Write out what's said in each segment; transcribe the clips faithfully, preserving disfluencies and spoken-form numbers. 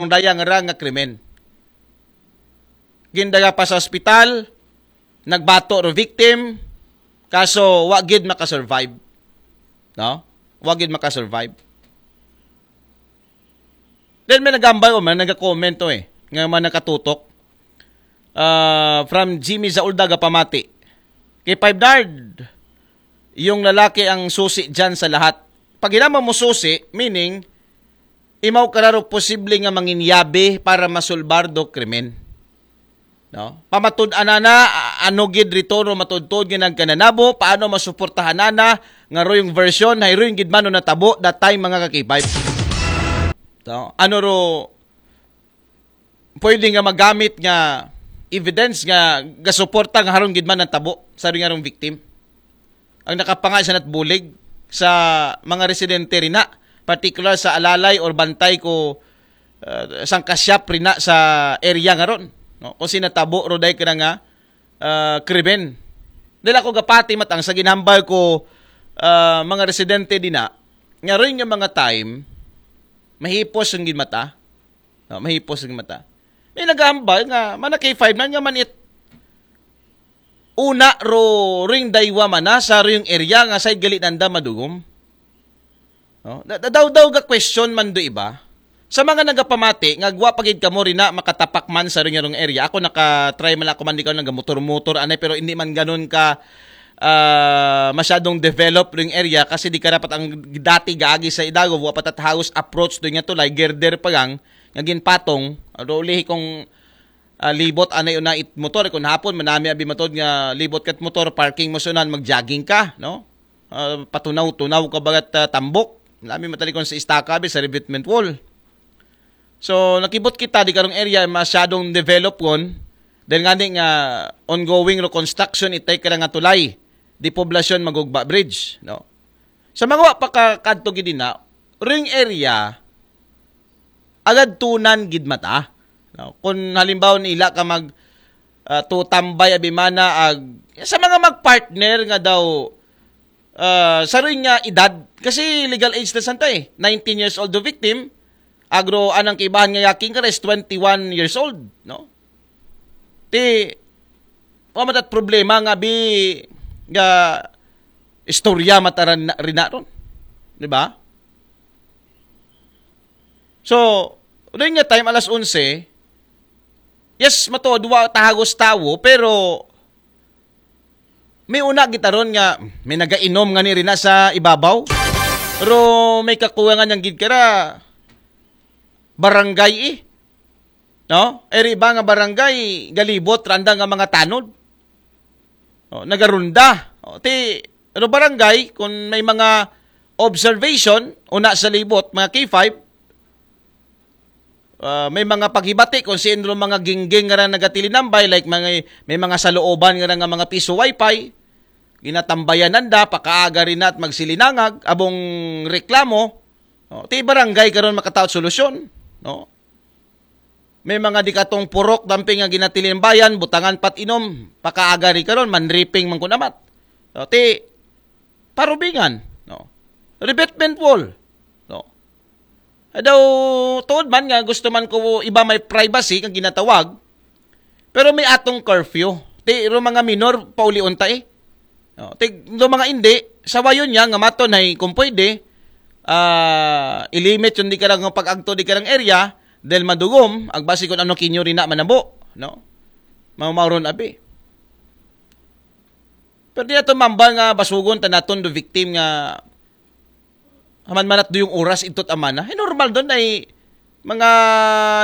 dayang ra nga krimen. Gindala pa sa ospital, nagbato ro victim, kaso wa gid makasurvive. No? Wa gid makasurvive. Then may nagambay o man, nagka-comment to eh. Nga man nakatutok. Ah, from Jimmy Zauldaga Pamati. Kay Five Nard, yung lalaki ang susi dyan sa lahat. Pag hinama mo susi, meaning, imaw kararo posible nga manginyabi para masulbar do krimen. No? Pamatud-an na, a- ano gid rito ro matudtod nga nagkananabo, paano masuportahan na, nga ro yung version, hay ro yung gid man no natabo, that time mga kakipay. No? Ano ro, pwede nga magamit nga evidence nga gasuporta nga haron gid man ang tabo sa ring arong victim. Ang nakapangay sa natbulig sa mga residente rin na, particular sa alalay or bantay ko uh, sangkasyap rin na sa area nga ron. No? Kung sinatabo ro dahil ka na nga uh, krimen. Dahil ako gapati matang sa ginhambal ko uh, mga residente din na, nga rin nga mga time, mahipos ang ginmata. No, mahipos ang mata. May nagahambal nga, mana K five na nga man it una ro ring daywa mana sa ring area nga sa gali nanda madugom. No? Da- da- Daw daw ga question man do iba. Sa mga nagapamati nga gwa pagid kamo rin na makatapak man sa ring area. Ako naka-try man ako man di ka nagamotor-motor anay pero hindi man ganun ka ah, masyadong develop ring area kasi di ka dapat ang dati gaagi sa Idagov wa patat house approach do nga tulay girder pa gang nga ginpatong ro ulihi kung ah, libot anay una it motor kung hapon manami abi matod nga libot kat motor parking mo sunan mag-jogging ka no. Ah, patunaw-tunaw ka bagat ah, tambok nami matalikon sa istaka abi sa revetment wall. So nakibot kita di karong area masyadong develop kon dahil nga nga ongoing reconstruction itay ka nga tulay di poblasyon magugba bridge no. Sa mga wa pa ka kadto gid na ring area agad tunan gid mata no? Kung halimbawa nila ka mag uh, tutambay abimana ag sa mga magpartner nga daw uh, sa rin nga edad kasi legal age na santa eh nineteen years old the victim agro anang kibahan nga yaking ka is twenty-one years old no ti wa matat problema nga bi nga istorya mataran rina ron di ba so rin nga time alas onse yes mato duwa tahagos tawo pero may una gitaron nga may nagainom nga ni rina sa ibabaw. Pero may kakuha nga niyang gid kara barangay eh. No? Eri iba nga barangay galibot randa nga mga tanod. Oh, nagarunda. Oh, ti ano barangay kung may mga observation una sa libot mga K five uh, may mga paghibati kung sino mga gingging nga nagatilinambay like mga may mga salooban nga nga mga piso wifi ginatambayan nanda pakaaga rin at magsilinangag abong reklamo no? Ti barangay karon makataot solusyon no may mga di katong purok damping nga ginatilinambayan butangan pat inom pakaaga rin karon manriping man kunamat no? Ti parubingan no revetment wall no daw tuod man nga gusto man ko iba may privacy kang ginatawag pero may atong curfew ti ro mga minor pauli unta eh no ti do mga indi sawayon niya nga maton hay kung pwede ah ilimit yung di ka lang pag-agto di ka lang area dahil madugom agbasi kung ano kinyo rin na manabo no mamauron abi pero di nato mambal nga basugon ta naton do victim nga haman manat do yung oras itot amana. Ay normal doon ay mga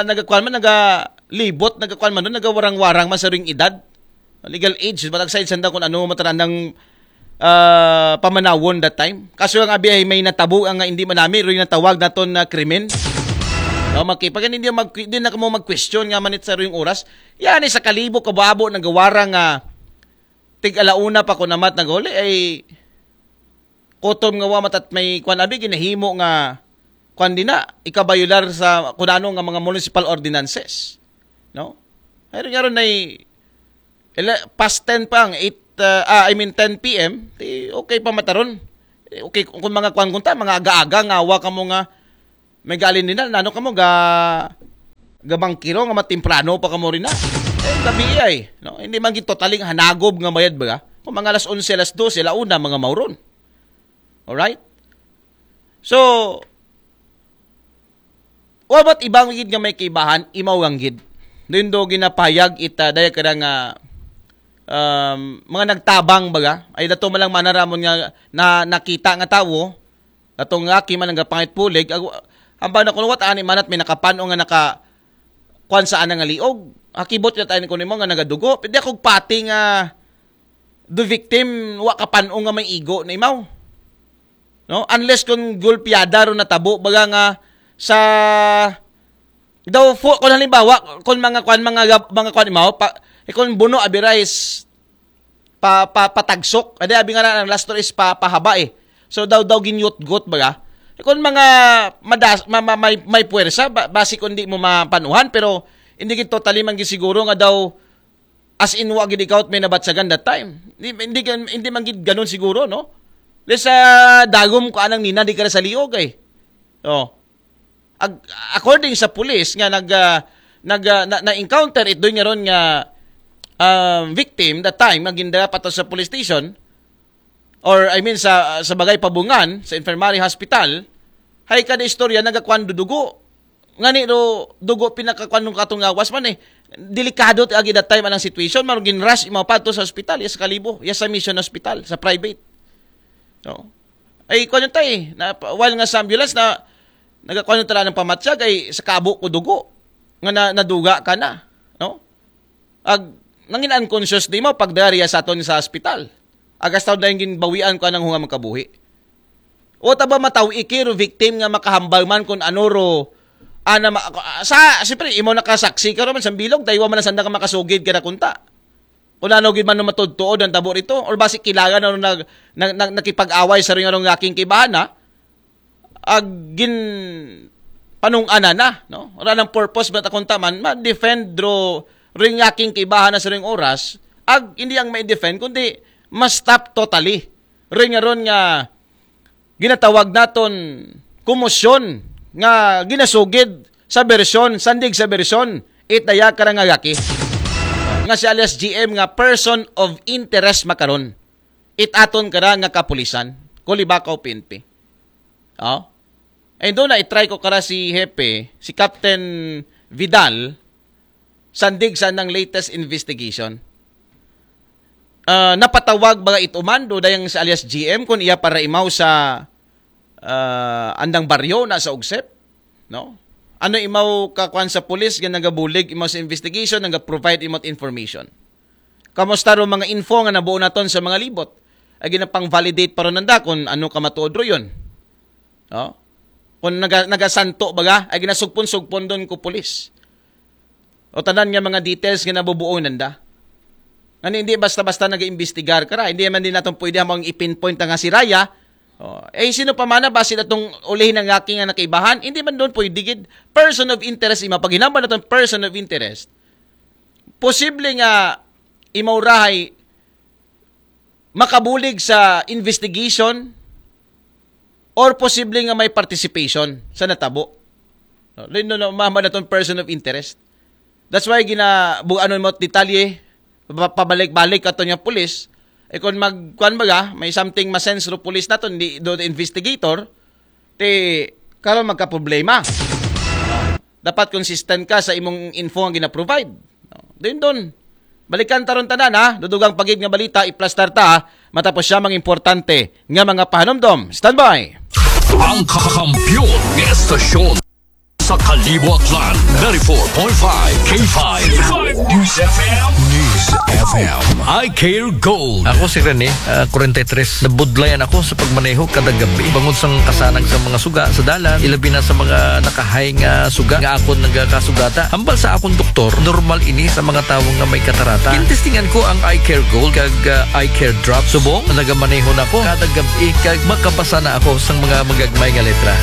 nagakuan man nagalibot nagakuan man doon nagawarang-warang man sa ring edad. Legal age ba tagsayad sanda kung ano mataran ng ah, pamanawon that time. Kaso ang abi ay may natabo ang hindi manami ring natawag naton na krimen. No, makipagan hindi mag din na kamo mag-question nga manit sa ring oras. Yan ay sa kalibo kababo nagawarang nga tig alauna pa ko namat naguli ay kutom nga wa matat may kwan abi ginahimo nga kwan din na ikabayular sa kunano nga mga municipal ordinances no ay rin nga ron ay ele- past ten pa ang eight uh, ah, I mean ten p m ti okay pa mataron Eh, okay kung mga kwan kunta mga aga-aga nga wa kamo nga may galin din na nano kamo ga gabangkiro nga matimprano pa kamo rin na. Eh, gabi ay, no? Hindi man gid totaling hanagob nga mayad ba? Kung mga alas onse, alas dose, ala una, mga mauron. Alright? So, what about ibang gid nga may kaibahan, imaw ang gid? Doon do ginapayag ita, daya ka nga, um, mga nagtabang baga, ay dato malang manaramon nga na, nakita nga tawo, datong aki man nga pangit pulig, ag-, hambang na kuno, what ani manat may nakapanong nga naka, kwan sa ana nga liog. Akibot na tayo ni kuno mo nga nagadugo. Pwede akong pati nga the victim, wa kapanong nga may igo na imaw. No? Unless kung gulpiada ro natabo, baga nga sa daw fu-, kung halimbawa, kung mga kwan, mga gab-, mga kwan imaw, pa, eh, kung buno abirais, pa, pa, patagsok. Adi, abi nga na, ang last is pa, pahaba eh. So, daw, daw ginyutgot baga. Eh, kung mga madas, ma, ma, may, may puwersa, ba, basi kung di mo mapanuhan, pero hindi gid totally man gid siguro nga daw as in wa gid ikaw may nabatsagan that time. Hindi, hindi, gan- hindi man gid ganun siguro, no? Lesa dagom ko anang nina di ka na sa liog eh. Oh. Ag- according sa pulis nga nag ah, nag ah, na, na-encounter ito nga ron nga ah, victim that time nga gindala pa to sa police station or I mean sa sa bagay pabungan sa infirmary hospital, hay kada istorya nagakuan do dugo. Ngani do dugo pinakakuan nung katong gawas man eh. Delikado ti agi that time anang situation, maro gin-rush imaw pa to sa hospital, yes, sa Kalibo, yes, sa Mission Hospital, sa private. No? Ay kuan tay, na while nga sa ambulance na nagakuan tala ng pamatyag ay sa kabo ko dugo nga na, naduga ka na, no? Ag nangin unconscious di mo pagdari sa aton sa ospital. Agas taon na yung ginbawian ko anang hunga magkabuhi. O ta ba mataw ikiro victim nga makahambal man kung ano ro ana ma- sa siyempre imo nakasaksi ka naman sa bilog daywa man ang sanda ka makasugid ka na kunta. Kung ano gid man no matudtuod ang tabo rito or basi kilagan na nag, nag, nag, nakipag-away sa ring arong aking kibahana, ag gin panung-ana na, no? Wala nang purpose but akong taman, ma-defend dro ring aking kibahan na sa ring oras, ag hindi ang ma-defend, kundi ma-stop totally. Ring aron nga ginatawag naton komosyon nga ginasugid sa bersyon, sandig sa bersyon, it daya karang agaki. Nga si alias G M nga person of interest makaron. It aton kara nga kapulisan, Kulibakaw P N P. Oh? And doon na itry ko kara si Hepe, si Captain Vidal, sandig sa nang latest investigation. Ah, napatawag ba ito mando dayang sa alias G M kung iya para imaw sa ah, andang baryo na sa Ugsep, no? Ano imaw kakuan sa pulis nga nagabulig imaw sa investigation, naga-provide imaw information? Kamusta ro mga info nga nabuo naton sa mga libot? Ay ginapang-validate pa ron nanda kung ano ka matuod ro yun. No? Kung naga, nagasanto baga, ay ginasugpon-sugpon doon ko pulis. O tanan nga mga details nga nabubuo nanda. Ano hindi basta-basta nag-iimbestigar ka ra. Hindi man din natin pwede hamang i-pinpoint nga si Raya. Oh, eh, sino pa man na ba sila tong ulihin ng aking nga nakaibahan? Hindi man doon pwede gid. Person of interest, ima paghinambal natin person of interest. Posible nga imaw rahay makabulig sa investigation or posible nga may participation sa natabo. No, lino na mama na tong person of interest. That's why ginabuganon mo detalye, pa- pabalik-balik ato niya pulis. E kung magkuan baga, may something masense ro pulis nato, hindi do investigator, ti karon magkaproblema. Dapat consistent ka sa imong info nga gina-provide. No? Din doon. Balikan taron tanan ha. Dudugang pagid nga balita, iplastar ta ha. Matapos siya mga importante nga mga pahanumdom. Standby! Ang kakampiyon ng estasyon sa Kalibo Aklan, ninety-four point five K five News F M. News F M. I Care Gold. Ako si Rene, ah, forty-three. Nabudlayan ako sa pagmaneho kada gabi. Bangod sa kasanag sa mga suga sa dalan, ilabi na sa mga nakahay nga suga nga akon nagakasugata. Hambal sa akong doktor, normal ini sa mga tawo nga may katarata. Gintestingan ko ang Eye Care Gold kag, ah, Eye Care Drop. Subong, nagamaneho na ko kada gabi kag makabasa na ako sa mga magagmay nga letra.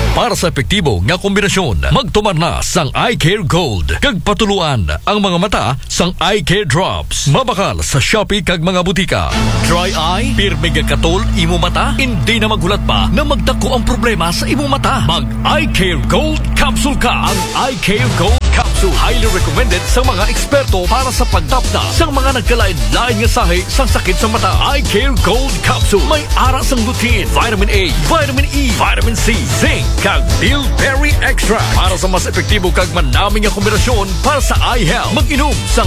Para sa epektibo nga kombinasyon, magtumar na sang Eye Care Gold kag patuluan ang mga mata sang Eye Care Drops. Mabakal sa Shopee kag mga butika. Dry eye, pirmi nga katol imo mata, hindi na maghulat pa na magdako ang problema sa imo mata. Mag Eye Care Gold Capsule ka. Ang Eye Care Gold Capsule Highly recommended sa mga eksperto para sa pagtapna sa mga nagkalain-lain nga sahi sa sakit sa mata. Eye Care Gold Capsule. May ara sang lutein, vitamin A, vitamin E, vitamin C, zinc, kag bilberry extract para sa mas epektibo kag manami nga kombinasyon para sa eye health. Mag-inom sang